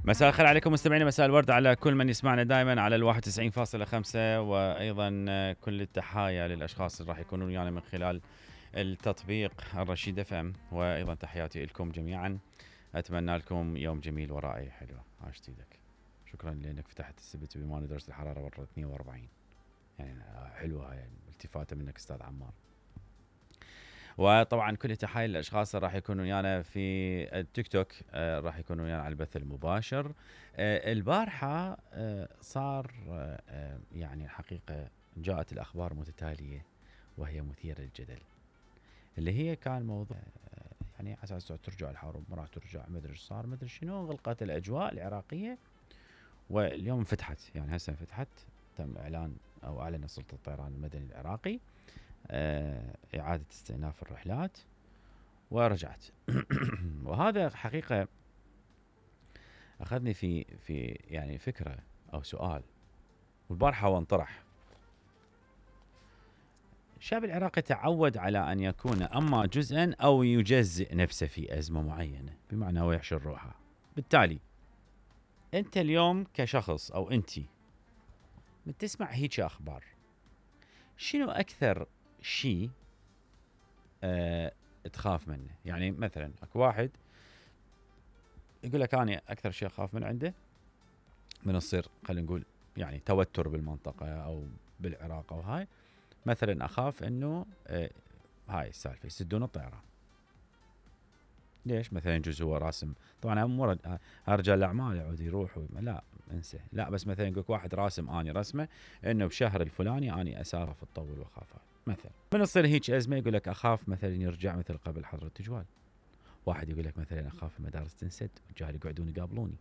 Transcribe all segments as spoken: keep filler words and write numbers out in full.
مساء الخير عليكم مستمعينا، مساء الورد على كل من يسمعنا دائما على الواحد وتسعين فاصلة خمسة، وايضا كل التحايا للاشخاص اللي راح يكونون ويانا من خلال التطبيق الرشيد اف ام، وايضا تحياتي لكم جميعا. اتمنى لكم يوم جميل ورائع حلو. عاشت ايدك. شكرا لانك فتحت السبت بما درجه الحراره برا اثنين وأربعين، يعني حلوه هاي التفاته منك استاذ عمار. وطبعا كل تحايا للاشخاص اللي راح يكونوا ويانا في التيك توك، آه راح يكونوا ويانا على البث المباشر. آه البارحه آه صار آه يعني الحقيقه جاءت الاخبار متتاليه وهي مثيره للجدل، اللي هي كان موضوع آه يعني على اساس ترجع الحرب، ما راح ترجع، ما ادري ايش صار، ما ادري شنو، غلقت الاجواء العراقيه. واليوم فتحت، يعني هسه فتحت، تم اعلان او اعلن سلطه الطيران المدني العراقي آه إعادة استئناف الرحلات ورجعت. وهذا حقيقة أخذني في في يعني فكرة أو سؤال، والبارحة وانطرح. الشعب العراقي تعود على أن يكون أما جزءا أو يجزئ نفسه في أزمة معينة، بمعنى هو يحشر روحه. بالتالي أنت اليوم كشخص أو أنتي من تسمع هيك أخبار، شنو أكثر شيء أه تخاف منه؟ يعني مثلا اكو واحد يقول لك انا اكثر شيء اخاف من عنده من يصير خلينا نقول يعني توتر بالمنطقه او بالعراق او هاي، مثلا اخاف انه أه هاي السالفه يسدون الطيران. ليش؟ مثلا يجوز هو راسم، طبعا مو رجال الاعمال يعود يروح، لا انسى، لا بس مثلا يقول واحد راسم اني رسمه انه بشهر الفلاني اني اسافر في الطول واخاف مثلا. من تصير هيك ازمه يقول لك اخاف مثلا يرجع مثل قبل حظر التجوال. واحد يقول لك مثلا اخاف المدارس تنسد والجهال يقعدون يقابلوني.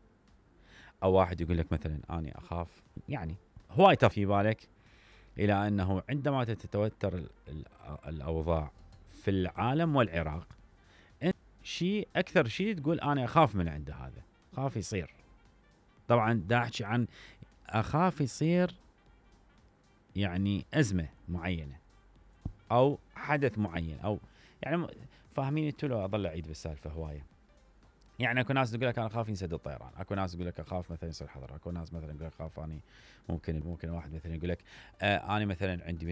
او واحد يقول لك مثلا اني اخاف، يعني هواي في بالك، الى انه عندما تتوتر الاوضاع في العالم والعراق، شيء اكثر شيء تقول انا اخاف من عنده، هذا خاف يصير. طبعا دا احكي عن اخاف يصير يعني ازمه معينه او حدث معين، او يعني فاهمين انتوا؟ لو اضل اعيد بالسالفه هوايه. يعني اكو ناس تقول لك انا اخاف ينسد الطيران، اكو ناس تقول لك اخاف مثلا يصير حظر، اكو ناس مثلا يقول لك اخاف اني ممكن ممكن واحد مثلا يقول لك آه انا مثلا عندي